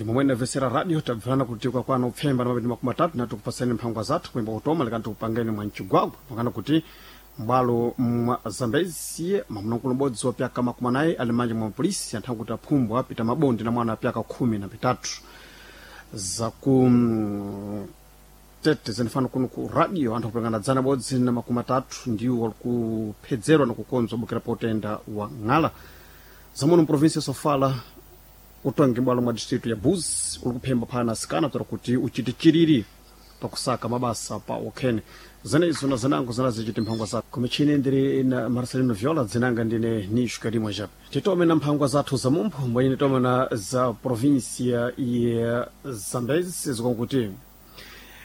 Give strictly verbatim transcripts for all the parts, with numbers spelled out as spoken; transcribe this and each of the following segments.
Ndi momwe inamvetsera radio tabvana kuti kwakwana upfemba na mapindi makumi atatu na tikupasani mphangwa zathu kuyimba kutoma lekani tikupangeni mwa mchigwagwa pakana kuti m'bwalo mwa Zambezi mwamuna ubodzi wa pyaka makumi anayi ali manja mwa polisi anthu akuti aphumbwa apita mabondi na mwana apyaka khumi na pitatu. Zaku mm, tete zinifana kuno ku radio anthu akupangana dzana bodzi na makumi atatu ndiwo walikuphedzerwa na kukonzwa bukira potenda wa ng'ala. Zamuno mprovinsi ya Sofala utongi bwalo mwa distritu ya Buzi uli kuphemba phana asikana tora kuti uchite chiriri pakusaka mabasa pa okhene. Zenezo na zinango zinazichiti mphangwa zathu kumichini ndiri na Marcelino Viola, dzinanga ndine Nisho Karimwa Jape. Titome na mphangwa zathu za mumpho mbwenye titome na za provinsia ya Zambezi zikonkuti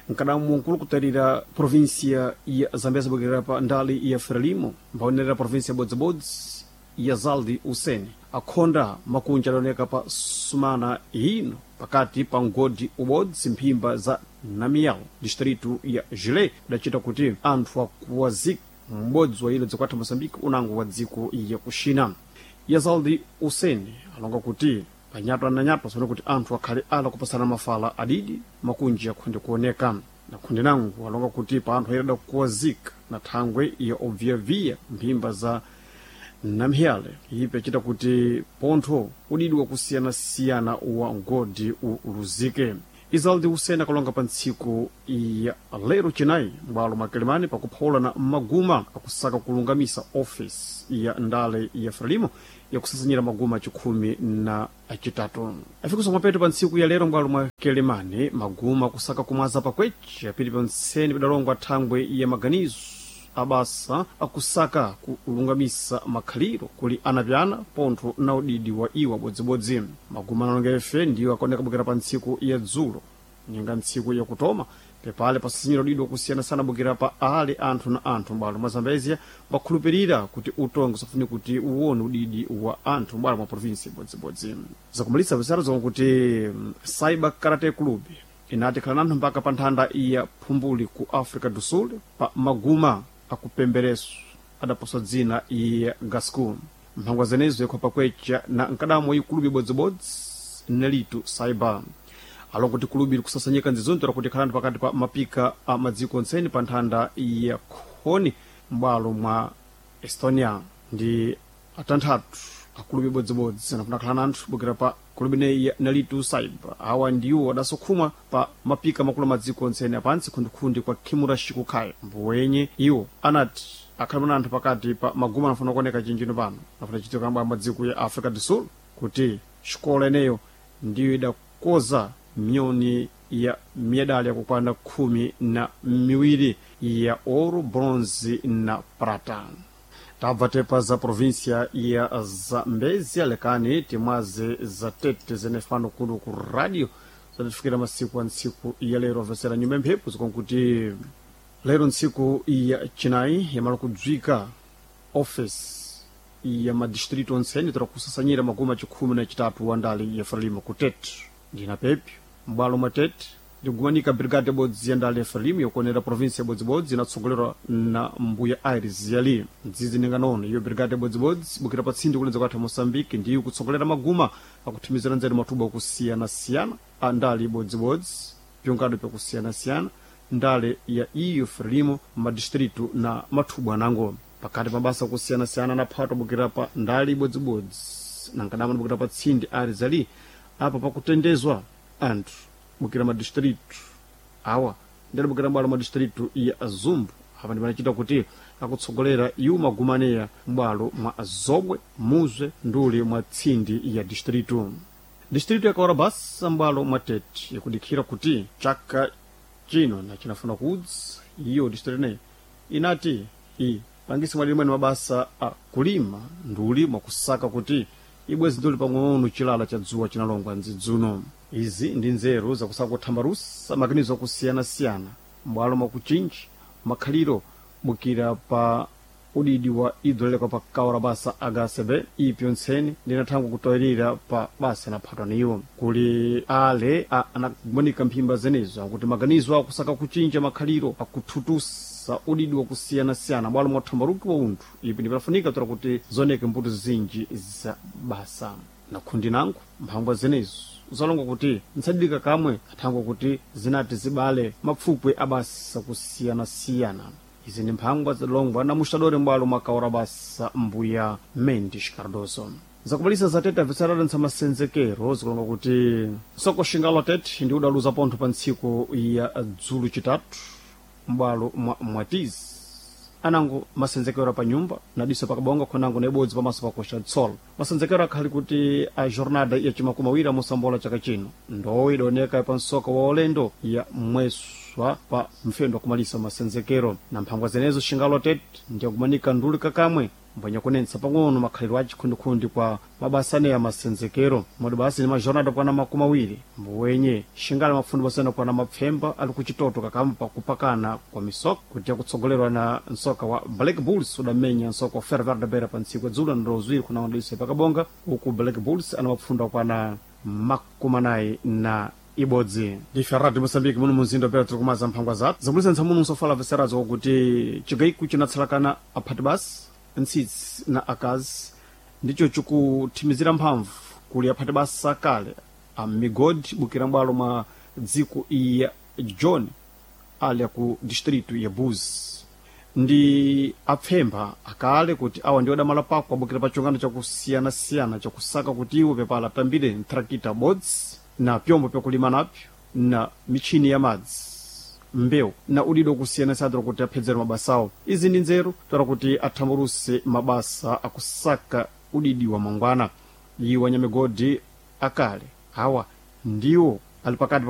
nkadamu nkulukutalira provinsia ya Zambezi bukira pa ndali ya Frelimo mbaonera provinsia ya Bodzibodzi ya Zaldi Useni akhonda makunja adaoneka pa sumana ino pakati pa mgodi ubodzi mphimba za Namialo distritu ya Jile idacita kuti anthu akuwazika m'bodzi wa ilo dzikwatha Moçambique unango wa dziko ya kuxina. Yazaldi Useni alonga kuti panyatwa na nyatwa sone kuti anthu akhale ala kupasana mafala adidi makunji akhonde kuoneka na khonde nangu alonga kuti pa anthu ayirada kuwazika na thangwe ya obviyaviya mphimba za Namhyale ipe achita kuti pontho udidi wakusiyanasiyana wa mgodi uluzike. Izaldi Useni akalonga pa ntsiku ya lero Chinayi m'bwalo mwa Kilimani pakuphawula na maguma akusaka kulungamisa ofisi ya ndale ya Frelimo yakusasanyira maguma achikhumi na achitatu. Afikiso mwapeto pa ntsiku ya lero m'bwalo mwa Kilimani maguma akusaka kumwaza pakweche apiti ponseni padalongwa thangwe ya maganizo abasa akusaka kulungamisa makhaliro kuli anapyana pontho na udidi wa iwo abodzibodzi. Maguma analonga efe ndiwo akaoneka bukira pa ntsiku ya dzulo ninga ntsiku yakutoma pepale pasasinyira udidi wakusiyanasiyana bukira pa ale anthu na anthu m'bwalo mwa Zambezia bakhulupirira kuti utongo usafune kuti uwone udidi wa anthu m'bwalo mwa provinsi bodzibodzi. Zakumalitsa visaro zomwe kuti mm, Cyber Karate Club inati khala nanthu mpaka pa nthanda ya phumbuli ku Africa do Sul pa maguma akupembereso adaposwa dzina ya Gasco. Mphangwa zenezo yakhopa kwecha na nkadamo ikulubi bodzibodzi nelitu Cyber alongo kuti kulubi likusasanyika nzizonto lakuti khalani pakati pa mapika a madziko ntseni pa nthanda ya khoni m'bwalo mwa Estonia. Ndi atanthatu akulubi bodzibodzi anafuna khala nanthu bukira pa kulubi neyi ya nalitu Cyber awa ndiwo adasokhumwa pa mapika makulu madziko ntseni apantsi khundikhundi kwa Kimura Shikukhaya mbuwenye iwo anati akhala anthu pakati pa maguma anafuna kuoneka chinjino pano anafuna chitika mbwa madziko ya Africa do Sul kuti xikola eneyo ndiyo idakoza miyoni ya medali yakukwana khumi na miwiri ya ouro, bronze na prata. Tabva tepa za provinsia ya Zambezia lekani timwaze za tete zenefano kuno ku radio zatifikira masiku a ntsiku ya lero avesera nyumba mphepo zikonkuti lero ntsiku ya Chinayi yamala kudzwika office ya madistrito ontseni tora kusasanyira maguma chikhumi na chitatu wa ndali ya Frelimo ku Tete. Ndina pepyo m'bwalo mwa Tete ndikumanika brigade bodzi ya ndali ya Frelimo yokuonera provinsi ya bodzibodzi inatsogolerwa na mbuya Aires Yali mdzidzi ninganono iyo brigade bodzibodzi bukira pa tsindi kulenza kwathu Moçambique ndiyo kutsogolera maguma akuthimizira nzeru mathubu akusiyana-siyana a ndali bodzibodzi pyongado pyakusiyana-siyana ndale ya iyo Frelimo madistritu na mathubu anango pakati mabasa akusiyana-siyana anaphatwa bukira pa ndali ibodzibodzi nankadama bukira pa tsindi Aires Ali apa pakutendezwa anthu bukira madistritu awa ndali bukira m'bwalo madistritu ya Zumbu apa ndipanachita kuti akutsogolera iwo magumaneya m'bwalo mwa Zobwe, Muzwe nduli mwa tsindi ya distritu. Distritu ya Kaorabasa m'bwalo mwa Tete yakudikhira kuti chaka chino na chinafuna kudzi iyo distritu ineyi inati i pangisi mwadini mwene mabasa a kulima nduli mwakusaka kuti ibwezi nduli pang'ono chilala cha dzuwa chinalongwa nzidzuno. Izi ndi nzeru zakusaka kuthambalusa makanizo akusiyana-siyana m'bwalo mwakuchinji makhaliro bukira pa udidi wa idolekwa pa kaora basa H C B ipyo ntseni ndinathangwa kutoyerera pa basa naphatwa niwo kuli ale a- anakumanika mphimba zenezo akuti maganizo akusaka kuchinja makhaliro akuthutusa udidi wakusiyanasiyana bwalo mwa thambaluki wa unthu ipi ndipanafunika tora kuti zoneke mbuto zinji za basa. Na khundi nangu mphangwa zenezo zalonga kuti ntsadidika kamwe athangwa kuti zinati zibale mapfupwe abasa kusiyanasiyana. Izi ndi mphangwa zilongwa na muxadori mbwalo mwakaora basa mbuya Mendes Cardoso. Zakubalisa zatete abveserera ntsa masenzekero zikulonga kuti soko xingalo tete ndi udaluza pontho pa ntsiku ya dzulu chitatu m'bwalo mwa mwatizi anango masenzekero pa nyumba nadiso pakabonga khonango na ibodzi pamaso pakoxa tsolo. Masenzekero akhali kuti a jornada ya cimakumi awiri amusambola chaka chino ndowo idaoneka pa msoka wa ulendo ya mweswa pa mfendo wakumalisa masenzekero na mphangwa zenezo xingalo tete ndiyakumanika nduli kakamwe mbwenya kunensa pang'ono makhalidwe a chikhundikhundi kwa mabasa aneya masenzekero modi basi ni majornada kwana makumi awiri mbuwenye xingale mafundi basena kwana mapfemba ali kuchitoto kakamwe pakupakana kwa misoka kuti akutsogolerwa na nsoka wa Black Bulls udamenya nsoka wa Ferroviário da Beira pa ntsiku dzulo na ndozwiri kuna ndalise pakabonga uku Black Bulls ana mapfundo kwana makumi anayi na ibodzi. Ndife Radio Moçambique muno munzinda pera tiri kumaza mphangwa zathu zakulisa ntsamuno nsofala veserazo kuti chigayiku chinatsalakana aphati basi ntsitsi na akazi ndicho chikuthimizira mphamvu kuli aphati basa kale a migodi bukira mbwalo mwa dziko iya John ali aku distrito ya Buzi ndi apfemba akale kuti awa ndi odamala pako abukira pa chungano chakusiyanasiyana chakusaka kuti iwo pepala atambire ntrakita bodzi na pyombo pyakulima napyo na michini ya madzi, mbewu na udido kusiyanasiyana kuti aphedzere mabasawo. Izi ndi nzeru toera kuti athamburuse mabasa akusaka udidi wa mangwana. Iwo anyamigodi akale awa ndiwo ali pakati.